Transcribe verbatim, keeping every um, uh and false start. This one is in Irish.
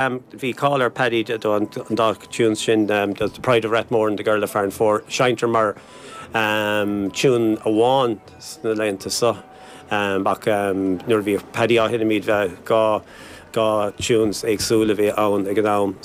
Bhí cáil ar Paddy do an dá tune sin um, the Pride of Rathmore and the Girl of Farranfore seinntear mar um, tune amháin sna laethanta seo. Um, ach um, nuair bhí Paddy á sheinm bhí dhá dhá tunes éagsúla bhí ann ag an am.